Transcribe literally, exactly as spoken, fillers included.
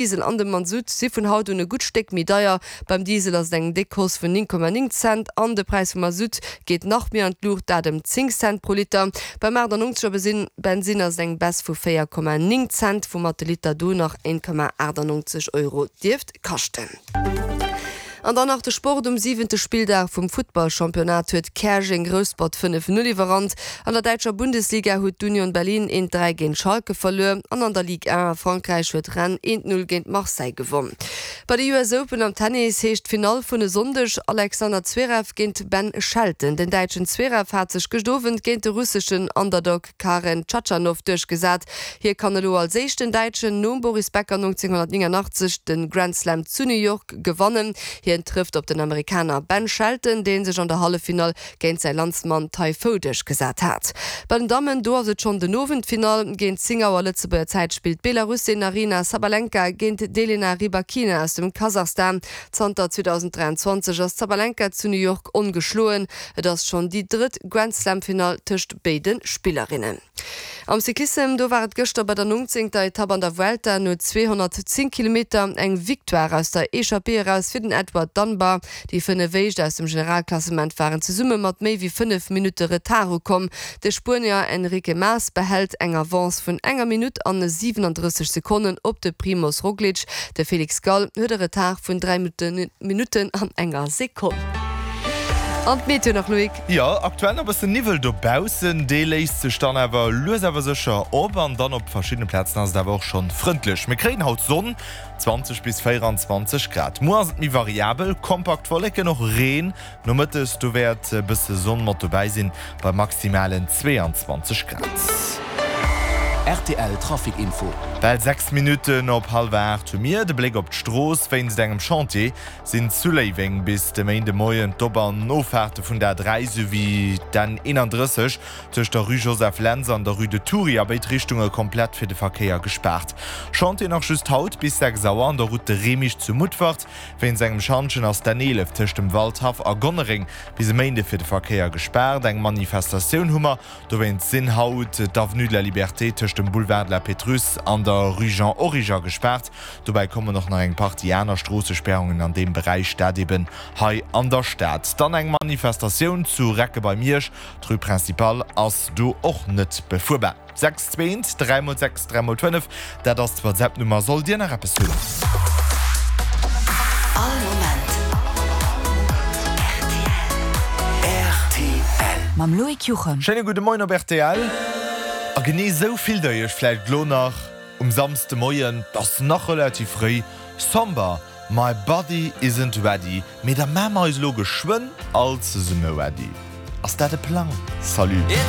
Diesel an de Masutt si vun haut un e gutt Stéck méi deier. Beim Diesel ass et eng déck Hausse vun néng Komma néng Cent an de Präis vum Masutt geet nach méi an d'Luucht, dat ëm zéng Cent pro Liter. Beim achtannonzeger Bensinn ass et eng Baisse vu véier Komma néng Cent, woumat de Liter do nach een Komma achtannonzeg Euro dierft kaschten. An dann nach de Sport, Um siwente Spilldag vum Futtballchampionnat huet Käerjeng Rouspert fënnef Null iwwerrannt. An der däitscher Bundesliga huet d'Union Berlin eent dräi géint Schalke verluer an an der Ligue un a Frankräich huet Rennes eent Null géint Marseille gewonn. Bei de U S Open am Tennis heescht d'Finall vun e Sonndeg Alexander Zverev géint Ben Shelton. Den däitschen Zverev hat sech gëscht Owend géint de russeschen Underdog Karen Khachanov duerchgesat. Hie kann elo als éischten Däitschen nom Boris Becker nonzénghonnertnéngannachtzeg de Grand Slam zu New York gewannen. Hien trëfft op den Amerikaner Ben Shelton, dee sech an der Halleffinall géint säi Landsmann Tai Fou duerchgesat hat. Bei den Dammen, do ass et schonn den Owend d'Finall. Géint zéng Auer Lëtzebuerger Zäit spillt d'Belarussin Aryna Sabalenka géint d'Elena Rybakina aus dem Kasachstan. Zanter zweedausenddräianzwanzeg ass d'Sabalenka zu New York ongeschloen. Et ass schonn déi drëtt Grand-Slam-Finall tëscht béide Spillerinnen. Am Cyclissem, do war et gëschter bei der nongzéngter Etapp an der Vuelta no zweehonnertzéng Kilometer eng Victoire aus der Echappée eraus fir den Edward Dunbar. Déi fënnef éischt aus dem Generalklassement waren zesumme mat méi wéi fënnef Minutte Retard ukomm. De Spuenier Enrique Mas behält eng Avance vun enger Minutt an siwenandrësseg Sekonnen op de Primoz Roglic. De Felix Gall huet e Retard vun dräi Minutten an enger Sekonn. An d'Meteo nach, Loïc? Jo, aktuell nach e bëssen Niwwel dobaussen, dee léist sech dann awer lues awer sécher op an dann op verschiddene Plazen ass et awer och schonn frëndlech. Mir kréien haut Sonn, zwanzeg bis véieranzwanzeg Grad. Muer ass et méi variabel, kompakt Wolleken, och Reen. Nomëttes do wäert e bësse Sonn mat dobäi sinn, bei maximalen zweeanzwanzeg Grad. Rtl Trafic Info. Bal sechs Minutten op hallwer aacht hu mir de Bléck op d'Strooss. Wéinst engem Chantier sinn zu Léiweng bis de Méindemoien d'Op an Offaarte vun der A dräi souwéi d'N eenandrësseg tëscht der Rue Joseph Lentz an der Rue de Thury a béid Richtunge komplett fir de Verkéier gespaart. Chantier nach just haut bis sechs Auer an der Route de Remich zu Mutfert. Wéinst engem Schantjen ass d'N eelef tëscht dem Waldhaff a Gonnereng bis e Méinde fir de Verkéier gespaart. Eng Manifestatioun hu mer dowéinst sinn haut d'Avenue de la Liberté tëscht dem Boulevard de la Pétrusse an der Rue Jean Origer gespaart. Dobäi kommen och nach eng Partie aner Stroossespäerungen an deem Beräich, dat eben hei an der Stad. Dann eng Manifestatioun zu Recke bei Miersch, d'Rue Principale ass do och net befuerbar. Sechs zweent, dräi mol sechs, dräi mol fënnef, dat ass d'WhatsApp-Nummer, sollt Dir nach eppes hunn. All Moment rtl. Mam Loïc Juchem. Schéine gudde Moien op rtl. A genee esou fillt der iech vläicht elo nach um Samsdemoien, 't ass nach relativ fréi, Somber, My body isn't ready, mee da maache mer eis elo geschwënn all zesumme ready. Ass dat e Plang? Salut.